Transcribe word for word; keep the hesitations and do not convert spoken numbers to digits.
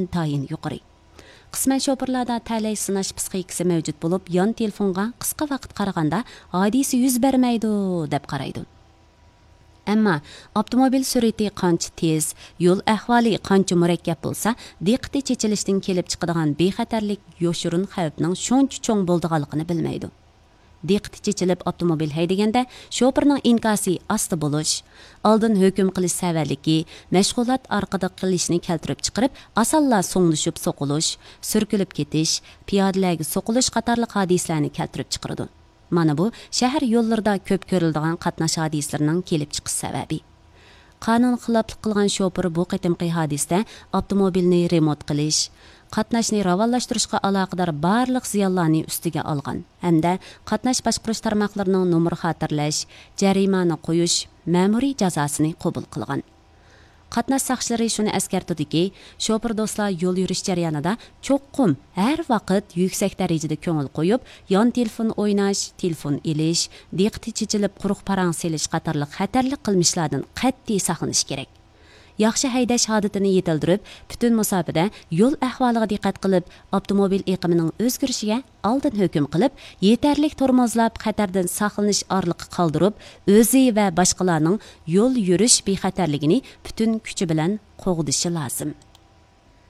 ئىنتايىن يۇقىرى. قىسمەن شوپۇرلاردا تەلەي سىناش پىسخىكىسى مەۋجۇت بولۇپ، يان تېلېفونغا قىسقا ۋاقىت قارىغاندا ھادىسە يۈز بەرمەيدۇ، دەپ قارايدۇ. ئەمما ئاپتوموبىل سۈرئىتى قانچە تېز، يول ئەھۋالى قانچە مۇرەككەپ بولسا، دىققىتى چېچىلىشتىن كېلىپ چىقىدىغان بىخەتەرلىك يوشۇرۇن خەۋپنىڭ شۇنچە چوڭ بولىدىغانلىقىنى بىلمەيدۇ. دىققىتى چېچىلىپ ئاپتوموبىل ھەيدىگەندە، شوپۇرنىڭ ئىنكاسى ئاستا بولۇش، ئالدىن ھۆكۈم قىلىش سەۋەنلىكى، مەشغۇلات ئارقىدا قىلىشنى كەلتۈرۈپ چىقىرىپ، ئاسانلا سوڭلىشىپ سوقۇلۇش، سۈركىلىپ كېتىش، پىيادىلەرگە سوقۇلۇش قاتارلىق ھادىسىلەرنى كەلتۈرۈپ چىقىرىدۇ. مانا بۇ شەھەر يوللىرىدا كۆپ كۆرۈلىدىغان قاتناش ھادىسىلىرىنىڭ كېلىپ چىقىش سەۋەبى. قانۇن خىلاپلىق قىلغان شوپۇر بۇ قېتىمقى ھادىسىدە ئاپتوموبىلنى رېمونت قىلىش، قاتناشنى راۋانلاشتۇرۇشقا ئالاقىدار بارلىق زىيانلارنى ئۈستىگە ئالغان ھەمدە قاتناش باشقۇرۇش تارماقلىرىنىڭ نومۇر خاتىرىلەش، جەرىمانە قويۇش، مەمۇرىي جازاسىنى قوبۇل قىلغان. قاتناش ساقچىلىرى شۇنى ئەسكەرتىدۇكى، شوپۇر دوستلار يول يۈرۈش جەريانىدا چوقۇم ھەر ۋاقىت يۈكسەك دەرىجىدە كۆڭۈل قويۇپ، يان تېلېفون ئويناش، تېلېفون ئېلىش، دىققىتى چېچىلىپ قۇرۇق پاراڭ سېلىش قاتارلىق خەتەرلىك قىلمىشلاردىن قەتئىي ساقلىنىش كېرەك. ياخشى ھەيدەش ئادىتىنى يېتىلدۈرۈپ، پۈتۈن مۇساپىدە يول ئەھۋالىغا دىققەت قىلىپ، ئاپتوموبىل ئېقىمىنىڭ ئۆزگىرىشىگە ئالدىن ھۆكۈم قىلىپ، يېتەرلىك تورمۇزلاپ، خەتەردىن ساقلىنىش ئارىلىقى قالدۇرۇپ، ئۆزى ۋە باشقىلارنىڭ يول يۈرۈش بىخەتەرلىكىنى پۈتۈن كۈچى بىلەن قوغدىشى لازىم.